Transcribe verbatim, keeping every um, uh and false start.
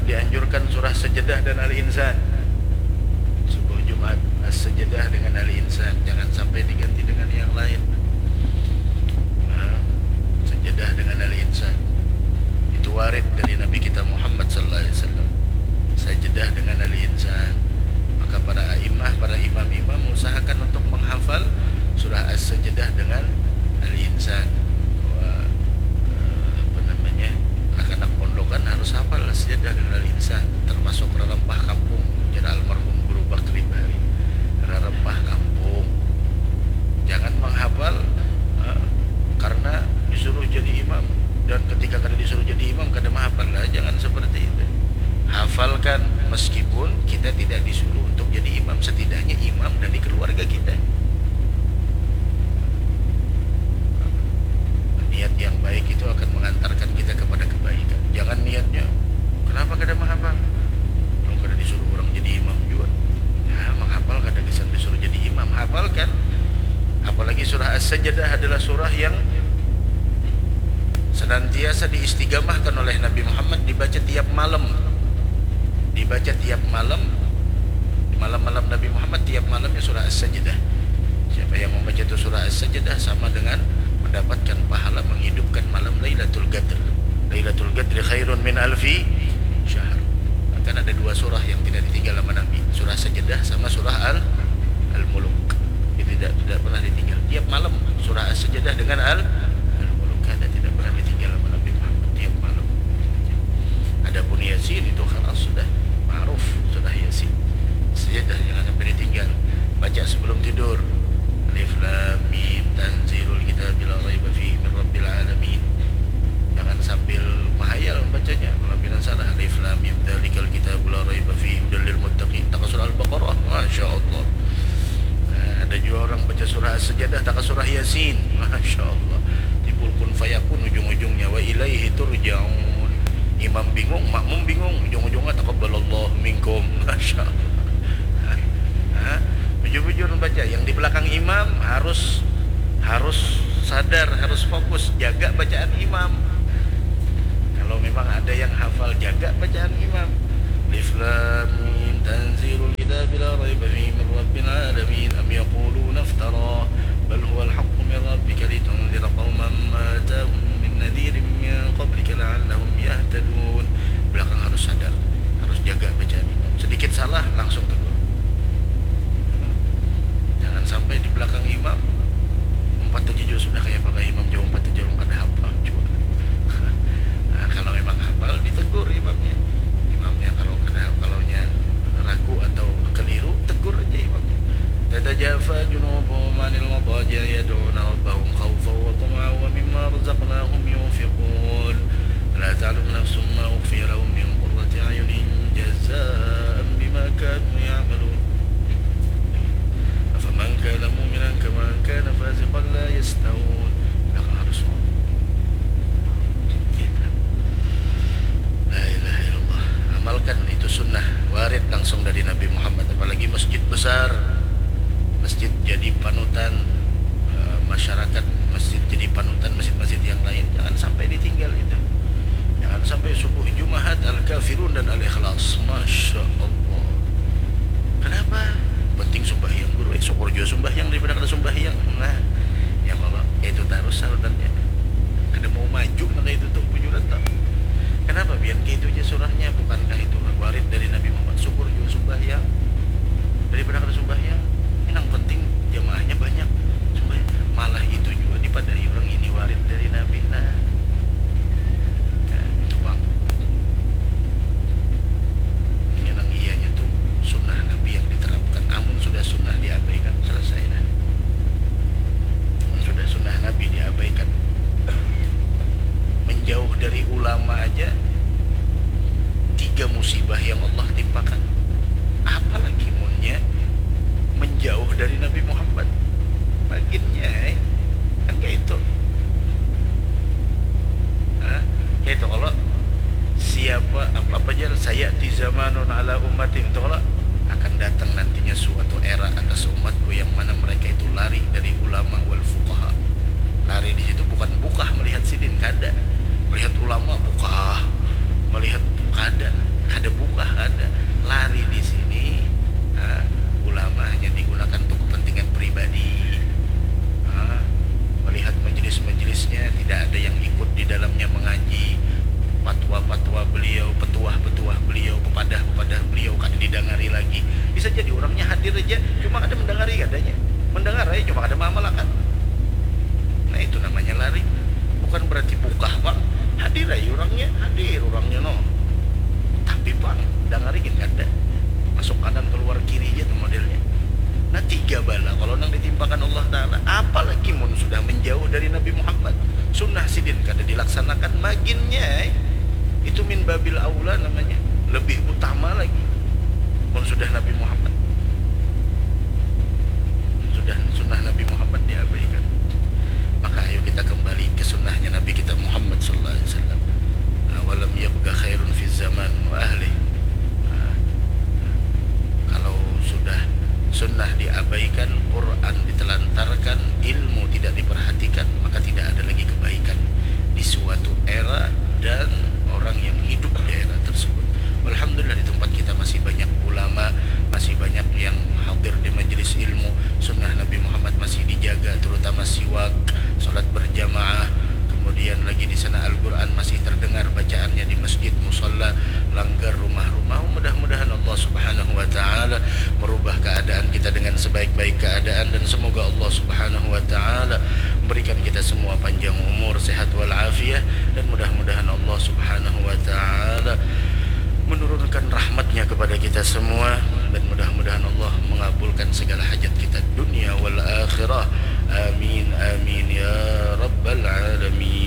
Dianjurkan surah Sajadah dan Al-Insan. Subuh Jumat, As-Sajadah dengan Al-Insan. Jangan sampai diganti dengan yang lain. Nah, Sajadah dengan Al-Insan. Itu warid dari Nabi kita Muhammad sallallahu alaihi wasallam. Sajadah dengan Al-Insan. Maka para a'immah, para imam-imam usahakan untuk menghafal surah As-Sajadah dengan Al-Insan. Bahwa, eh, apa namanya, anak-anak pondokan harus hafal As-Sajadah dengan Al-Insan, termasuk rarempah kampung, jar almarhum Guru Bakri bahari. Rarempah kampung. Jangan menghafal, eh, karena disuruh jadi imam, dan ketika kada disuruh jadi imam, kada menghafal lah. Jangan seperti itu. Hafalkan, meskipun kita tidak disuruh untuk jadi imam, setidaknya imam dari keluarga kita. Niat yang baik itu akan mengantarkan kita kepada kebaikan. Jangan niatnya, "Kenapa kada menghafal? Orang kada disuruh orang jadi imam juga." Ya, menghafal kada gasan disuruh jadi imam. Hafalkan. Apalagi surah As-Sajadah adalah surah yang senantiasa diistigamahkan oleh Nabi Muhammad, dibaca tiap malam. Dibaca tiap malam. Malam-malam Nabi Muhammad, tiap malamnya surah As-Sajadah. Siapa yang membaca itu surah As-Sajadah sama dengan mendapatkan pahala menghidupkan malam Lailatul Qadr. Lailatul Qadri khairun min alfi syahr. Bahkan ada dua surah yang tidak ditinggal sama Nabi, surah Sajadah sama surah Al Al-Muluk. Jadi tidak tidak pernah ditinggal. Tiap malam surah As-Sajadah dengan Al Al-Muluk, ada, tidak pernah ditinggal sama Nabi Muhammad tiap malam. Adapun Yasin itu khalas, sudah ma'ruf, surah Yasin. Sajadah jangan sampai ditinggal. Baca sebelum tidur. Alif Lam Mim, tanzilul kitabi la raiba fihi min rabbil alamin. Jangan sambil mahayal membacanya, kalau pina salah. Alif Lam Mim, dzalikal kitabu la raiba fihi, hudal lil muttaqin. Taka surah Al-Baqarah, Masya Allah. Nah, ada juga orang baca surah As-Sajadah, taka surah Yasin. Masya Allah. Timbul kun fayakun ujung-ujungnya, wa ilaihi turja'un. Imam bingung, makmum bingung, ujung-ujungnya taqabbalallahu minkum. Masya Allah. Hah? Bujur-bujur baca, yang di belakang imam harus harus sadar, harus fokus, jaga bacaan imam. Kalau memang ada yang hafal, jaga bacaan imam. Alif Lam Mim, tanzilul kitabi la raiba fihi min rabbil alamin. Am yaquluna iftara, bal huwal haqqu min rabbika litunzira qauman ma atahum min nadhirin min qablika la'allahum yahtadun. Belakang harus sadar, harus jaga bacaan imam. Sedikit salah, langsung tegur. Jangan sampai di belakang imam umpat aja jua sudah, kayak apa imam jauh umpat aja, ulun kada hafal jua. Nah, kalau memang hafal, ditegur imamnya. Imamnya kalau kada, kalau nya ragu atau keliru, tegur aja imamnya. Tatajafa junubuhum anil madaji'i yad'una rabbahum khaufan wa tama'an wa mimma razaqnahum yunfiqun. Fala ta'lamu nafsun ma ukhfiya lahum min qurrati a'yunin jazaan bima kanu ya'malun. Afaman kana mu'minan kaman kana fasiqan la yastawun. Belakang harus mau. Gitu. La ilaha illallah. Amalkan itu sunnah, warid langsung dari Nabi Muhammad. Apalagi masjid besar, masjid jadi panutan, eh, masyarakat, masjid jadi panutan masjid-masjid yang lain. Jangan sampai ditinggal itu. Jangan sampai subuh Jumahat Al-Kafirun dan Al-Ikhlas. Masya Allah. Kenapa? Penting sumbahyang, guru. Eh, syukur jua sumbahyang daripada kada sumbahyang. Nah, ya kalau itu tarus sarutannya. Kada mau maju nang itu tuh bujuran tuh. Kenapa pian kayak itu aja surahnya? Bukankah itu warid dari Nabi Muhammad? Syukur jua sumbahyang daripada kada sumbahyang. Ini nang penting jamaahnya banyak. Sumbahyang. Malah itu jua dipadahi orang ini warid dari Nabi. Nah, nah, itu bang. Ini nang iyanya tuh sunnah Nabi yang diterapkan. Amun sudah sunnah diabaikan, selesai dah. Amun sudah sunnah Nabi diabaikan, menjauh dari ulama aja tiga musibah yang Allah timpakan. Apalagi munnya menjauh dari Nabi Muhammad. Baginnya, eh. Kan kayak itu. Hah? Kayak itu kalau siapa apa, apa aja saya di zamanun ala ummatin itu kalau akan datang nantinya suatu era atas umatku yang mana mereka itu lari dari ulama wal fuqaha. Lari di situ bukan bukah melihat sidin, kada. Melihat ulama bukah, melihat kada, kada Dangari gin kada. Masuk kanan keluar kiri ja tu modelnya. Nah, tiga bala kalau nang ditimpakan Allah Ta'ala. Apalagi mun sudah menjauh dari Nabi Muhammad. Sunnah sidin kada dilaksanakan maginnya. Itu min babil aula namanya. Lebih utama lagi. Mun sudah Nabi Muhammad. Sudah sunnah Nabi Muhammad diabaikan. Maka ayo kita kembali ke sunnahnya Nabi kita Muhammad sallallahu alaihi wasallam. Nah, walam yabqa khairun fi zaman wa ahli. Nah, kalau sudah sunnah diabaikan, Quran ditelantarkan, ilmu tidak diperhatikan, maka tidak ada lagi kebaikan di suatu era dan orang yang hidup di era tersebut. Alhamdulillah, di tempat kita masih banyak ulama, masih banyak yang hadir di majelis ilmu. Sunnah Nabi Muhammad masih dijaga, terutama siwak, salat berjamaah. Kemudian lagi di sana Al-Quran masih terdengar bacaannya di masjid, musalla, langgar, rumah-rumah. Mudah-mudahan Allah Subhanahu wa Ta'ala merubah keadaan kita dengan sebaik-baik keadaan, dan semoga Allah Subhanahu wa Ta'ala memberikan kita semua panjang umur, sehat walafiat, dan mudah-mudahan Allah Subhanahu wa Ta'ala menurunkan rahmatnya kepada kita semua, dan mudah-mudahan Allah mengabulkan segala hajat kita dunia wal akhirah. Amin, amin, ya rabbal alamin.